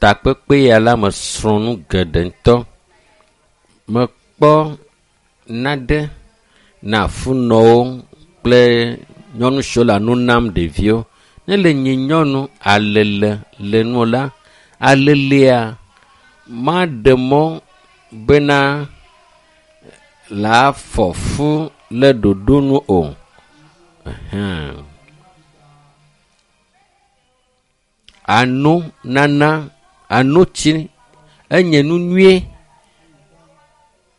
takpekpe ya la mesrɔ̃ nu geɖe ŋutɔ. Mekpɔ nane na funɔwo kple nyɔnu siwo le nu nam ɖeviwo. Ne le nyi nyɔnu alele le nu la, alelea maɖe mɔ bena la fɔ fu le ɖoɖo nu o. Ehɛ̃. Ano nana anotsi enye nu nyuie.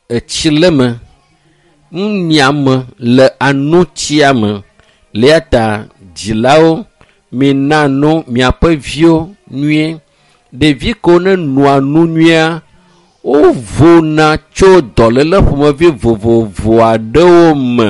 Etsi le eme. Nunyiame le anotsia me. Le eya ta dzilawo mina no miaƒe viwo nyuie. Ɖevi kewo ne noa nu nyuia wovona tso dɔléle ƒomevi vovovo aɖewo me.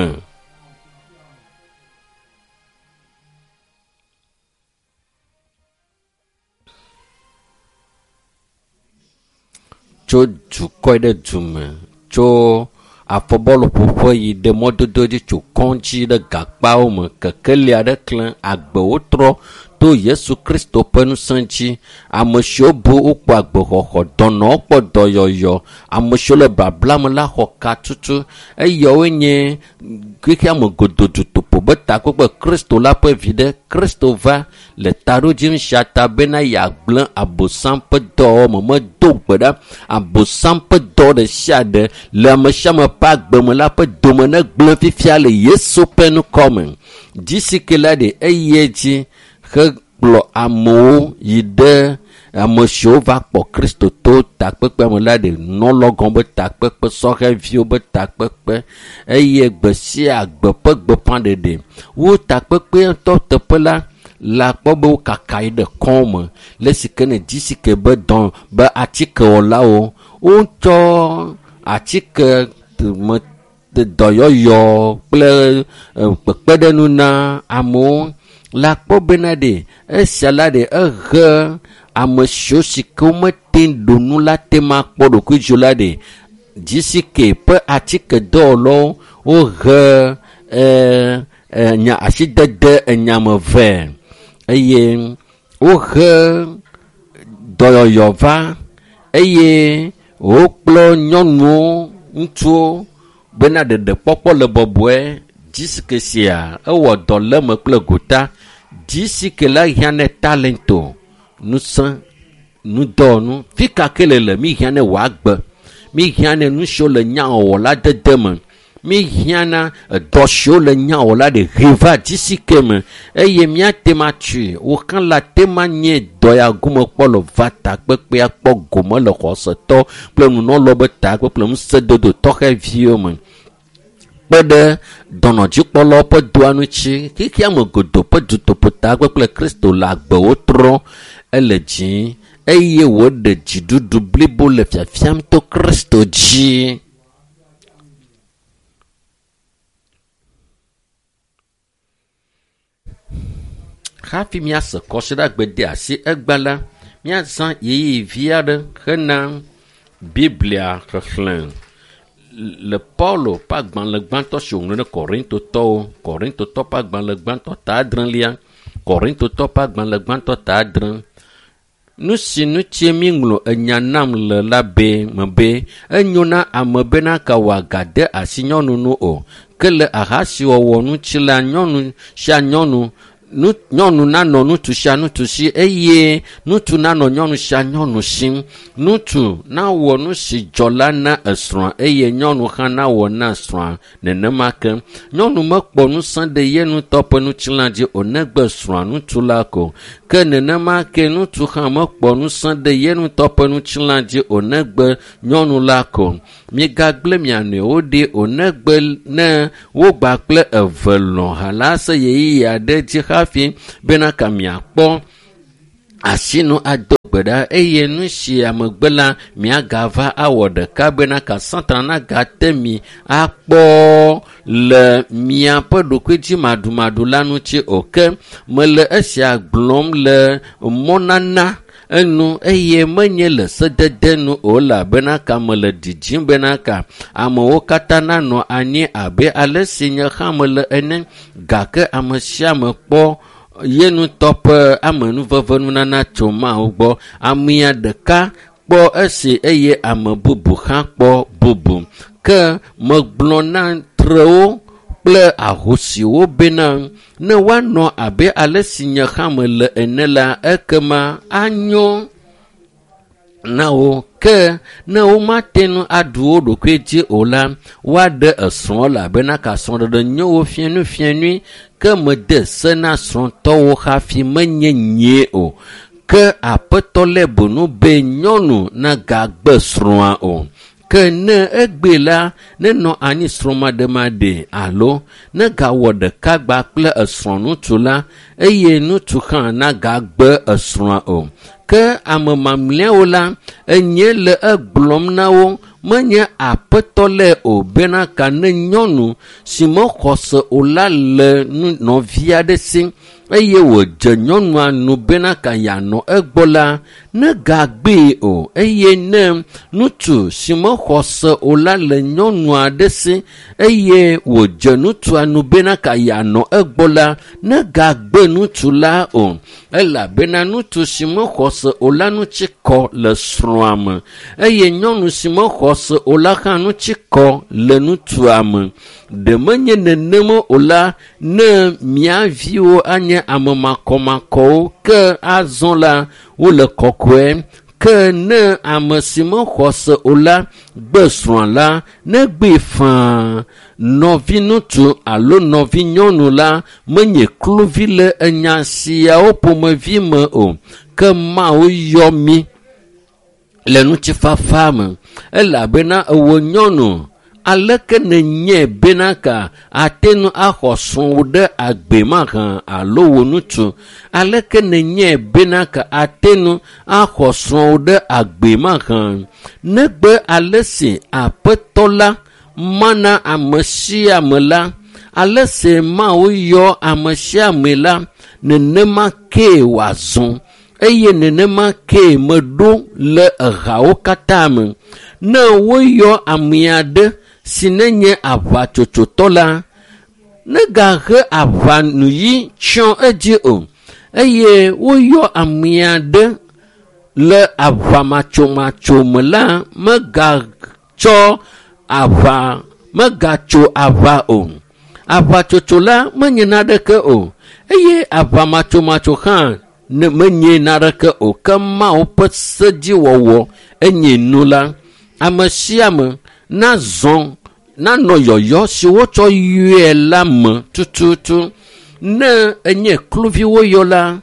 Tso dukɔ yi ɖe dume, tso afɔbɔluƒoƒe yi ɖe mɔdodo dzi tso kɔdzi ɖe gakpawo me, kekeli aɖe klẽ, agbewo trɔ to Yesu Kristo ƒe ŋusẽ dzi. Ame siwo bu wokpɔ agbexɔxɔ, dɔnɔwo kpɔ dɔyɔyɔ, ame siwo le babla me la xɔ katutu. Eyawoe nye xexea me godoo dutoƒo be takpekpe Kristo la ƒe viɖe. Kristo va le taɖodzinu sia ta bena yeagblẽ Abosam ƒe dɔwɔwɔ me. Medo gbe ɖa Abosam ƒe dɔ ɖe sia ɖe le ame sia ame ƒe agbe me la ƒe dome negblẽ fifia le Yesu ƒe ŋkɔ me. Dzisi ke la ɖe eyi edzi hekplɔ amewo yi ɖe ame siwo va kpɔ Kristo to takpekpea me la ɖe nɔlɔgɔ be takpekpe, sɔhɛviwo be takpekpe eye gbe sia gbe ƒe gbeƒãɖeɖe. Wo takpekpea ŋutɔ teƒe la, le akpɔ be wokaka yi ɖe kɔŋ me le esi ke ne dzisi ke be dɔ be atikewɔlawo wotsɔ atike me dɔyɔyɔ kple kpekpeɖeŋu na amewo. Le akpɔ bena ɖe esia la ɖe ehe ame siwo si ke womete ŋu ɖu nu la te ma kpɔ ɖokuidzo la ɖe dzisi ke ƒe atikedɔwɔlawo wohe nya asidede enyame vɛ eye wohe dɔyɔyɔ va eye wokplɔ nyɔnuwo, ŋutsuwo bena ɖeɖekpɔkpɔ le bɔbɔe. Dzisi ke sia ewɔ dɔ le eme kple gota. Dzisi ke la hiã ne talento, ŋusẽ, nudɔwɔnu. Fi ka ke le le mi hiã ne wòagbe. Mi hiã ne nu siwo le nyawɔwɔ la dede me. Mi hiã na edɔ siwo le nyawɔwɔ la ɖe he va dzisi ke me eye míate ma tui. Wò hã la te ma nye dɔ ya gome kpɔ le va takpekpea kpɔ gome le xɔsetɔ kple nunɔlɔ be takpekpe ŋusẽdodo tɔxɛviwo me. Kpe ɖe dɔnɔdzikpɔlawo ƒe dɔa ŋuti, xexea me godoo ƒe dutoƒo takpekpe Kristo le agbewo trɔ ele dzi eye wòɖe dziɖuɖu blibo le fiafiam to Kristo dzi. Hafi míase kɔsiɖagbe de asi egba la, míazã ɣeyiɣi vi aɖe hena Biblia xexlẽ le Paulo ƒe agbalẽ gbãtɔ si wòŋlɔ ɖe Korintotɔwo, Korintotɔ ƒe agbalẽ gbãtɔ ta adrelia, Korintotɔ ƒe agbalẽ gbãtɔ ta adre. Nu si ŋuti míŋlɔ enya nam le la be me be enyo na ame bena ka wòagade asi nyɔnu nu o. Ke le ahasiwɔwɔ ŋuti la, nyɔnu sia nyɔnu nu nyɔnu nanɔ ŋutsu sia ŋutsu si eye ŋutsu nanɔ nyɔnu sia nyɔnu si. Ŋutsu nawɔ nu si dzɔ la na esrɔ̃a eye nyɔnu hã nawɔ na srɔ̃a nenema ke. Nyɔnu mekpɔ ŋusẽ ɖe ye ŋutɔ ƒe ŋutilã dzi o negbe srɔ̃a ŋutsu la ko. Ke nenema ke ŋutsu hã mekpɔ ŋusẽ ɖe ye ŋutɔ ƒe ŋutilã dzi o negbe nyɔnu la ko. Migagblẽ mia nɔewo ɖi o negbe ne wogba kple eve lɔ̃ ha la se ɣeyiɣi aɖe dzi hafi bena ka miakpɔ asinu ado gbe ɖa eye nu sia megbe la miagava awɔ ɖeka bena ka Satana nagate mi akpɔ le miaƒe ɖokuidzimaɖumaɖu la ŋuti o. Ke mele esia gblɔm le mɔnana enu eye menye le sedede nu o elabena ka mele didim bena ka amewo katã nanɔ anyi abe ale si nye hã mele ene gake ame sia ame kpɔ Ye ŋutɔ ƒe amenuvevenunana tso Mawu gbɔ. Amea ɖeka kpɔ esi eye ame bubu hã kpɔ bubu. Ke megblɔ na trewo kple ahosiwo bena ne woanɔ abe ale si nye hã mele ene la, ekema anyo na wo. Ke ne womate ŋu aɖu wo ɖokui dzi o la, woaɖe esrɔ̃ elabena ka srɔ̃ɖeɖe nyo wo fianufianui. Ke mede se na srɔ̃tɔwo hafi menye nyee o. Ke aƒetɔ lé bonu be nyɔnu nagagbe srɔ̃a o. Ke ne egbe la, nenɔ anyi srɔ̃maɖemaɖe alo negawɔ ɖeka gba kple esrɔ̃ ŋutsu la, eye ŋutsu hã nagagbe esrɔ̃a o. Ke ame mamlɛawo la, enye le egblɔm na wo, menye aƒetɔ lɛ o bena ka ne nyɔnu si mexɔ se o la le nɔvi aɖe si eye wòdze nyɔnua nu bena ka yeanɔ egbɔ la, negagbee o. Eye ne ŋutsu si mexɔ se o la le nyɔnu aɖe si eye wòdze ŋutsua nu bena ka yeanɔ egbɔ la, negagbe ŋutsu la o. Elabena ŋutsu si mexɔ se o la ŋuti kɔ le srɔ̃a me eye nyɔnu si mexɔ se o la hã ŋuti kɔ le ŋutsua me. Ɖe menye nenema o la, ne mia viwo anye ame makɔmakɔwo, ke azɔ la wole kɔkɔe. Ke ne ame si mexɔ se o la gbe srɔ̃a la, negbee faa. Nɔvi ŋutsu alo nɔvi nyɔnu la menye kluvi le enya siawo ƒomevi me o. Ke Mawu yɔ mí le ŋutifafa me elabena ewò nyɔnu aleke nenye bena ka ate ŋu axɔ srɔ̃wò ɖe agbe mahã alo wò ŋutsu aleke nenye bena ka ate ŋu axɔ srɔ̃wò ɖe agbe mahã negbe ale si aƒetɔ la mana ame sia ame la ale si Mawu yɔ ame sia ame la nenema kee wòazɔ eye nenema kee meɖo le ehawo katã me. Ne woyɔ ame aɖe si nenye aʋatsotsotɔ la, negahe aʋanuyi tsyɔ edzi o. Eye woyɔ ame aɖe le aʋamatsomatso me la, megatsɔ aʋa megatso aʋa o. Aʋatsotso la menye naneke o eye aʋamatsomatso hã ne menye naneke o. Ke Mawu ƒe sedziwɔwɔ enye nu la. Ame sia ame nazɔ nanɔ yɔyɔ si wotsɔ yɔe la me tututu. Ne enye kluvi woyɔ la,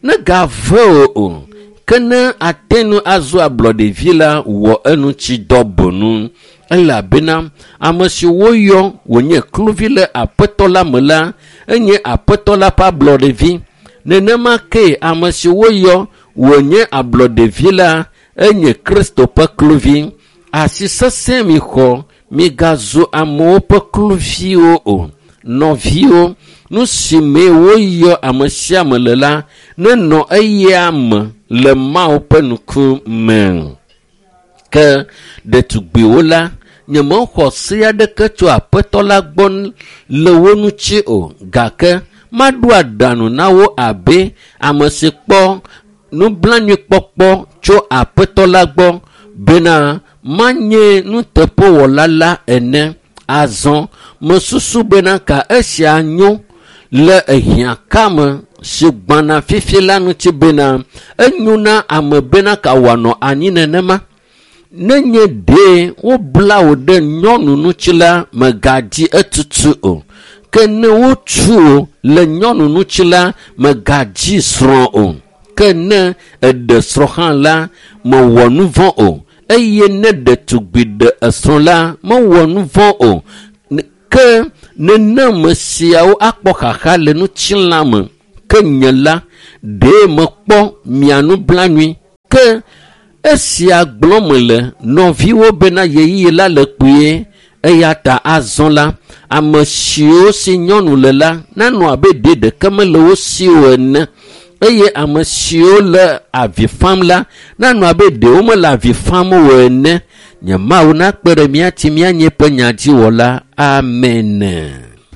negave wò o. Ke ne ate ŋu azu ablɔɖevi la, wɔ eŋuti dɔ bonu. Elabena ame si woyɔ wònye kluvi le aƒetɔ la me la, enye aƒetɔ la ƒe ablɔɖevi. Nenema ke ame si woyɔ wònye ablɔɖevi la, enye Kristo ƒe kluvi. Asi sesẽ mi xɔ, migazu amewo ƒe kluviwo o. Nɔviwo, nu si me woyɔ ame sia ame le la, nenɔ eya me le Mawu ƒe ŋkume. Ke ɖetugbiwo la, nyemexɔ se aɖeke tso aƒetɔ la gbɔ le wo ŋuti o gake maɖo aɖaŋu na wo abe ame si kpɔ nublanuikpɔkpɔ tso aƒetɔ la gbɔ bena manye nuteƒewɔla la ene. Azɔ mesusu bena ka esia nyo le ehiãkame si gbɔna fifi la ŋuti bena enyo na ame bena ka wòanɔ anyi nenema. Nenye ɖe wobla wò ɖe nyɔnu ŋuti la, mègadzi etutu o. Ke ne wotu wò le nyɔnu ŋuti la, mègadzi srɔ̃ o. Ke ne èɖe srɔ̃ hã la, mèwɔ nu vɔ̃ o. Eye ne ɖetugbi ɖe esrɔ̃ la, mewɔ nu vɔ̃ o. Ke nenema siawo akpɔ xaxa le ŋutilã me. Ke nye la, ɖe mekpɔ mia nublanui. Ke esia gblɔm mele nɔviwo bena ɣeyiɣi la le kpuie eya ta azɔ la, ame siwo si nyɔnu le la nanɔ abe ɖe ɖeke mele wo si o ene eye ame siwo le avi fam la nanɔ abe ɖe womele avi fam o ene. Nye Mawu nakpe ɖe mía ŋuti míanye eƒe nyadziwɔla. Amen.